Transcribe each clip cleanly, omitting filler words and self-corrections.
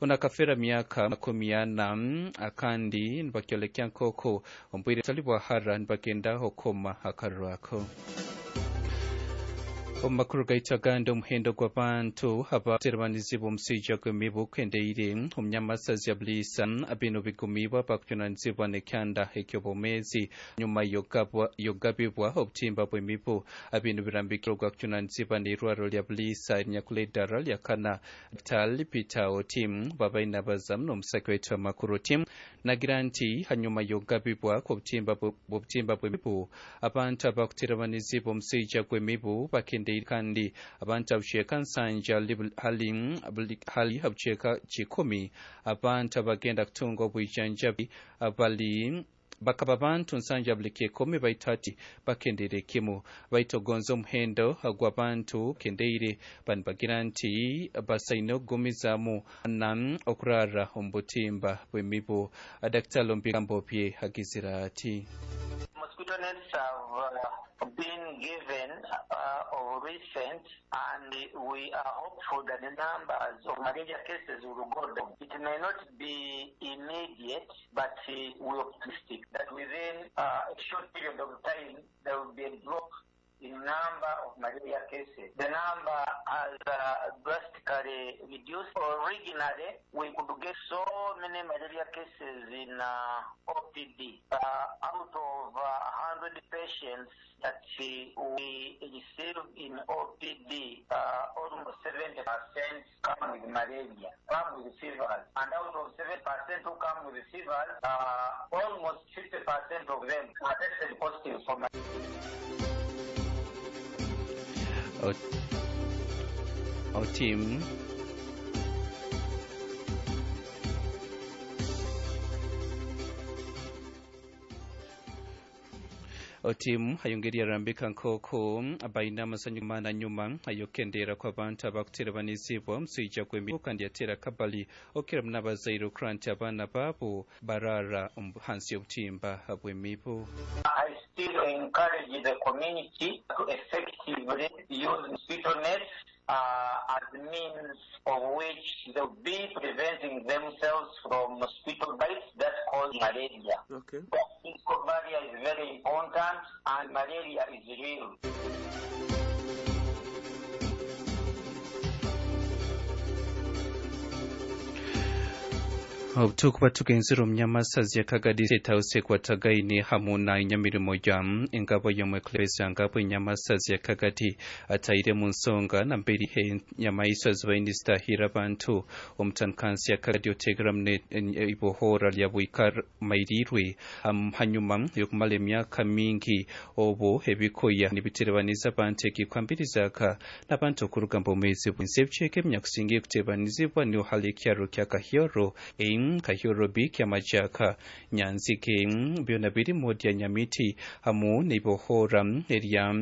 Ono akafera myaka 40 akandi nibakyolekya nk'oku omu bwire butali bwa hara nibagenda okukoma akaruru ako. Omu makuru gaitu agandi, omuhendo gw'abantu abaterebanizibwa omushaija gw'emibu gukendeire omu nyamasazi ya Buliisa. Binu bigumiibwe abakujunaanizibwa n'ekyanda eky'obwomeezi nyuma y'okugabibwa obutimba bw'emibu. Binu birambikire ogwakujunaanizibwa n'eirwariro lya Buliisa erinyakula eddara lya kana, Dr. Peter Otim. Babaire nabazamu n'omusaki waitu amakuru. Otim nagira nti hanyuma y'okugabibwa kw'obutimba bw'emibu, abantu abakuterebanizibwa omushaija gw'emibu bakendeire, kandi abantu abucweka 70 hali abucweka 100 abantu abagenda kutunga obwijanjabi bali bakaba abantu 70 buli 100, baitu hati bakendeire kimu. Baitu ogonza omuhendo gw'abantu kendeire, banibagira nti basaine okugumizaamu na okurara omu butimba bw'emibu. Dr. Lombigambo bye agizire ati: Mosquito nets have been given of recent, and we are hopeful that the numbers of malaria cases will go down. It may not be immediate, but we're optimistic that within a short period of time there will be a drop in number of malaria cases. The number has drastically reduced. Originally, we could get so many malaria cases in OPD. Out of 100 patients that we receive in OPD, almost 70% come with malaria, come with fevers. And out of 7% who come with fevers, almost 50% of them are tested positive for malaria. Otim Otimu ayongeri arambika nk'oku baine amasanyu mana nyuma ayokendera kw'abantu abakuterebanizibwa omuswija gw'emibu, kandi yatera kabali okukira muno abazaire okukura nti abaana baabo barara hansi y'obutimba bw'emibu. I still encourage the community to effectively use mosquito nets as means of which they'll be preventing themselves from mosquito bites that cause malaria. The physical barrier is very important, and malaria is real. Obutukuba tugenzere omu nyamasazi ya Kagadi State ekwatagaine hamu na enyamirimo ya engabo y'omwekulembeze ngabo enyamasazi ya Kagadi ataire mu nsonga namberi enyamaiswa zibaine zitahira abantu omutankansi ya Kagadi otegeramu ibohora lya Bwika-Mairirwe hanyuma y'okumara emyaka mingi obu ebikoya nibiterebaniza abantu ekikwambirizaka n'abantu okuruga mu bwomeezi bw'ensi. Ebicweka ebinyakusinga kutebanizibwa niho hali ekyaro kya Kahyoro A, Kahyoro B, Kyamajaka, Nyanzige, byona biri mu lya Nyamiti hamu n'ibohora erya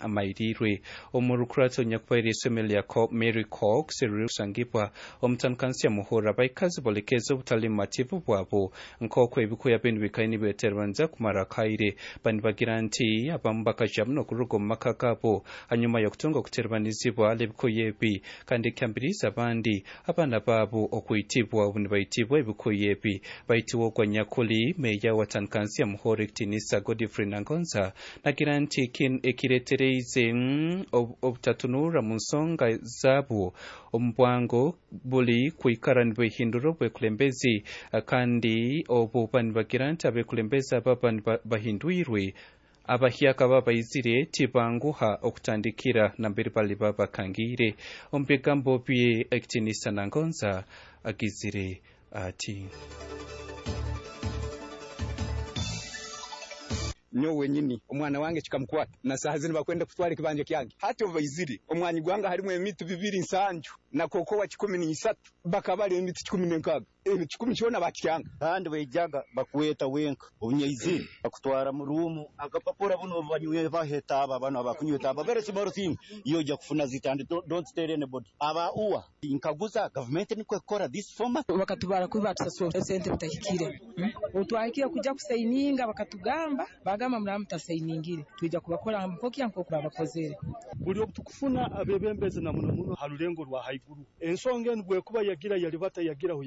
Mairirwe. Omu rukurato nyakubaire isomero lya Mary Cox ririkusangibwa omutankansi ya Muhura, abaikazi bolekeza obutali mumativu bwabo nk'oku ebikuya binu bikaire nibeterebanza kumara akaire. Bani bagira nti abamu bakaja muno okuruga omu maka gabo hanyuma y'okutunga okuterebanizibwa ebikuya ebi, kandi ekyambiriza abandi abaana baabo okwitibwa obu nibaitibwa ebikuya ebi. Baitiwe ogwa nyakuli meya wa tankansi ya Muhoro, ekitinisa Godfrey Nangonza, nagira nti ekiretereize obutatunura mu nsonga zaabo omu bwango buli kwikara nibehindura obwekulembezi, kandi obu banibagira nti abekulembezi aba bahindwirwe abahyaka babaizire tibanguha okutandikira nambere bali babakangire. Omu bigambo bye, ekitinisa Nangonza agizire ati: Nyowe wenyini omwana wange kikamukwata, na saaha zinu bakwenda kutwara ekibanja kyange. Hati obu baizire omwanyi gwange harimu emiti 270 na kokowa 13, bakabara emiti 160, ebi 10 kyona bakikyanga. Kandi baijaga bakweta wenka obunyaizire, bakutwara mu room, akapapura buno banywe bahe etaaba, bano abakunywa etaaba, very small thing iyo ojja kufuna zita, and don't tell anybody aba uwa nkaguza gavumenti nikwo ekukora this format. Bakatubara kubi, batusasura esente bitahikire. Obutwahikire kujja kusayininga, bakatugamba, bagamba, "Muraba mutasayiningire, twija kubakora nkokya nkoku babakozere." Buli obu tukufuna abebembezi na muno muno ha rulengo rwa haiguru, ensonga enu bwekuba yagira yalibata yagiraho.